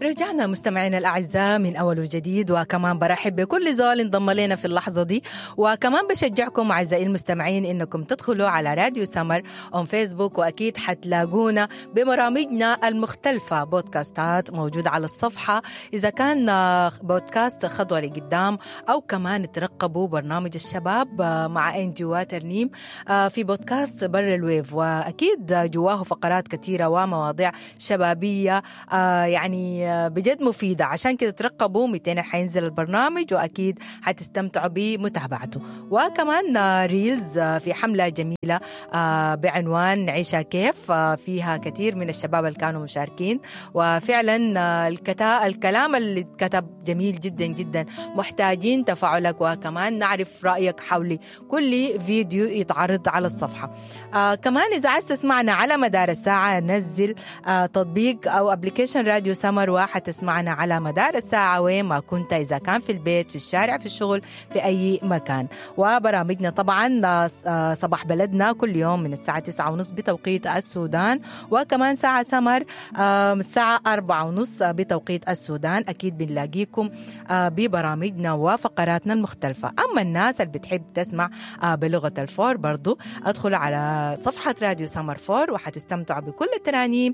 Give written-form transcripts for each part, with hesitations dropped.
رجعنا مستمعينا الأعزاء من أول وجديد، وكمان برحب بكل زول انضم لنا في اللحظة دي، وكمان بشجعكم أعزائي المستمعين إنكم تدخلوا على راديو سمر on Facebook، وأكيد حتلاقونا ببرامجنا المختلفة، بودكاستات موجودة على الصفحة إذا كان بودكاست خطوة لقدام، أو كمان ترقبوا برنامج الشباب مع إنجي وترنيم في بودكاست بر ال wave، وأكيد جواه فقرات كثيرة ومواضيع شبابية يعني بجد مفيدة. عشان كده ترقبوا 200 حينزل البرنامج، وأكيد حتستمتعوا بمتابعته. وكمان reels في حملة جميلة بعنوان نعيشها كيف، فيها كثير من الشباب اللي كانوا مشاركين، وفعلا الكلام اللي اتكتب جميل جدا جدا. محتاجين تفاعلك وكمان نعرف رأيك حول كل فيديو يتعرض على الصفحة. كمان إذا عايز تسمعنا على مدار الساعة، نزل تطبيق أو application راديو سمر، وحتسمعنا على مدار الساعة وين ما كنت، إذا كان في البيت، في الشارع، في الشغل، في أي مكان. وبرامجنا طبعا صباح بلدنا كل يوم من الساعة 9:30 بتوقيت السودان، وكمان ساعة سمر الساعة 4:30 بتوقيت السودان. أكيد بنلاقيكم ببرامجنا وفقراتنا المختلفة. أما الناس اللي بتحب تسمع بلغة الفور برضو، أدخل على صفحة راديو سمر فور وحتستمتعوا بكل الترانيم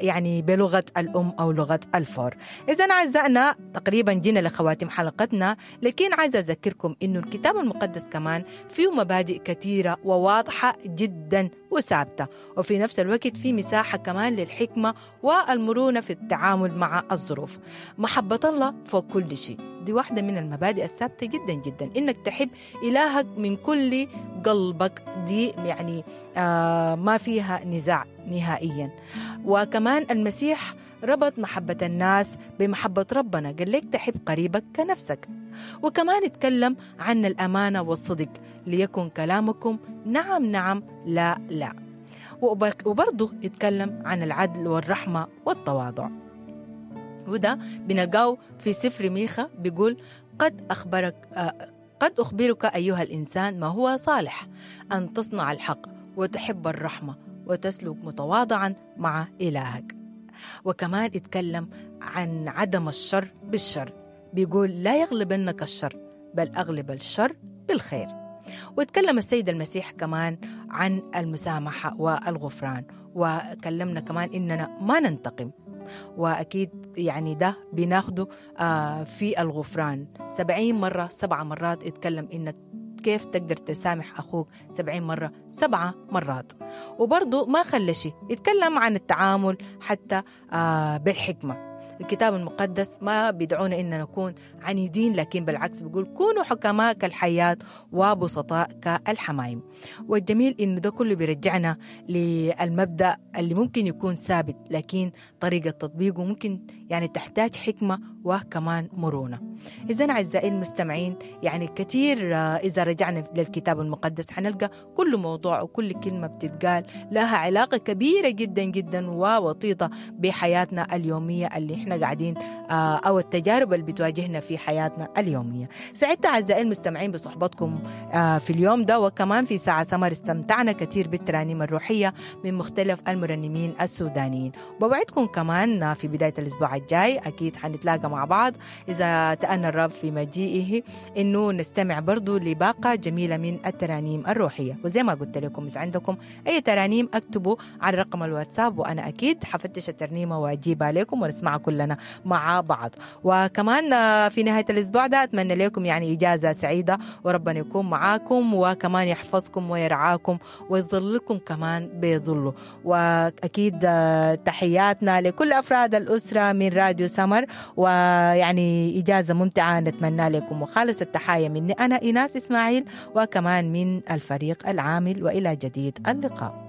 يعني بلغة الأم أو لغة الفور. إذا أعزائنا تقريبا جينا لخواتيم حلقتنا، لكن عايزة أذكركم إنه الكتاب المقدس كمان فيه مبادئ كثيرة وواضحة جدا وثابتة، وفي نفس الوقت في مساحة كمان للحكمة والمرونة في التعامل مع الظروف. محبة الله فوق كل شيء، دي واحدة من المبادئ الثابتة جدا جدا، إنك تحب إلهك من كل قلبك، دي يعني ما فيها نزاع نهائيا. وكمان المسيح ربط محبة الناس بمحبة ربنا، قال لك تحب قريبك كنفسك. وكمان اتكلم عن الأمانة والصدق، ليكن كلامكم نعم نعم لا لا. وبرضه اتكلم عن العدل والرحمة والتواضع، وده بنلقاه في سفر ميخا، بيقول قد أخبرك أيها الإنسان ما هو صالح، أن تصنع الحق وتحب الرحمة وتسلك متواضعا مع إلهك. وكمان اتكلم عن عدم الشر بالشر، بيقول لا يغلبنك الشر بل أغلب الشر بالخير. واتكلم السيد المسيح كمان عن المسامحة والغفران، وكلمنا كمان إننا ما ننتقم، وأكيد يعني ده بناخده في الغفران. 70 مرة 7 مرات اتكلم إنك كيف تقدر تسامح أخوك 70 مرة 7 مرات. وبرضو ما خلى شيء، اتكلم عن التعامل حتى بالحكمة. الكتاب المقدس ما بيدعونا إن نكون عنيدين، لكن بالعكس بيقول كونوا حكماء كالحيات وبسطاء كالحمايم. والجميل إنه ده كله بيرجعنا للمبدأ اللي ممكن يكون ثابت، لكن طريقة تطبيقه ممكن يعني تحتاج حكمة وكمان مرونة. إذن أعزائي المستمعين، يعني كثير إذا رجعنا للكتاب المقدس حنلقى كل موضوع وكل كلمة بتتقال لها علاقة كبيرة جدا جدا ووطيدة بحياتنا اليومية اللي احنا قاعدين أو التجارب اللي بتواجهنا في حياتنا اليومية. سعدت أعزائي المستمعين بصحبتكم في اليوم ده، وكمان في ساعة سمر استمتعنا كثير بالترانيم الروحية من مختلف المرنمين السودانيين. بوعدكم كمان في بداية الأسبوع الجاي أكيد حنتلاقى مع بعض إذا تأنى الرب في مجيئه، إنه نستمع برضو لباقة جميلة من الترانيم الروحية. وزي ما قلت لكم إذا عندكم أي ترانيم أكتبوا على رقم الواتساب، وأنا أكيد حفتش الترنيمة وأجيبها لكم ونسمعها كلنا مع بعض. وكمان في نهاية الأسبوع ده أتمنى لكم يعني إجازة سعيدة، وربنا يكون معاكم وكمان يحفظكم ويرعاكم ويظللكم كمان بظله. وأكيد تحياتنا لكل أفراد الأسرة من راديو سمر، ويعني إجازة ممتعة نتمنى لكم. وخالص التحايا مني أنا إيناس إسماعيل، وكمان من الفريق العامل، وإلى جديد اللقاء.